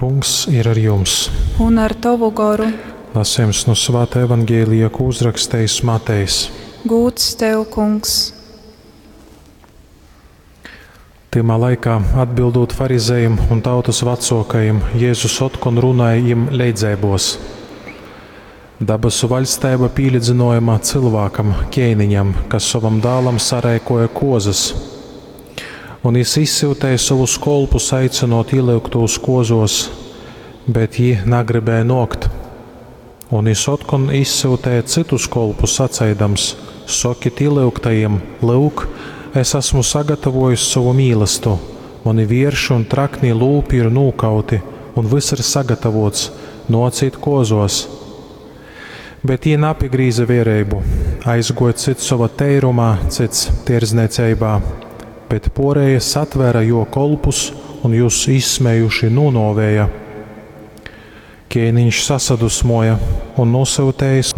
Kungs ir ar jums. Un ar tovu goru. Lasījums no Svāta Evangelija, ko uzrakstījis Matejs. Gūds tev, kungs. Tymā laikā, atbildūt farizejim un tautas vecōkajim, Jezus otkon runāja jim leidzeibos. Dabasu vaļsteiba pīlīdzynojama cylvākam, ķēniņam, kas sovam dālam sareikoja kozas. Un jis izsyutēja sovus kolpus aicinot ielyugtūs kozos, bet jī nagribēja nōkt. Un jis otkon izsyutēja cytus kolpus saceidams: Sokit ilyugtajim, lyuk, es asmu sagatavojis sovu mīlastu, muni vierši un traknī lūpi ir nūkauti, un vyss ir sagatavots, nōcit kozos. Bet jī napigrīze viereibu, aizguoja cyts sova teirumā, cyts tierznīceibā, bet porējie satvēra jo kolpus un jūs izsmējuši nūnōvēja. Ķēniņš sasadusmoja un nosūtējis.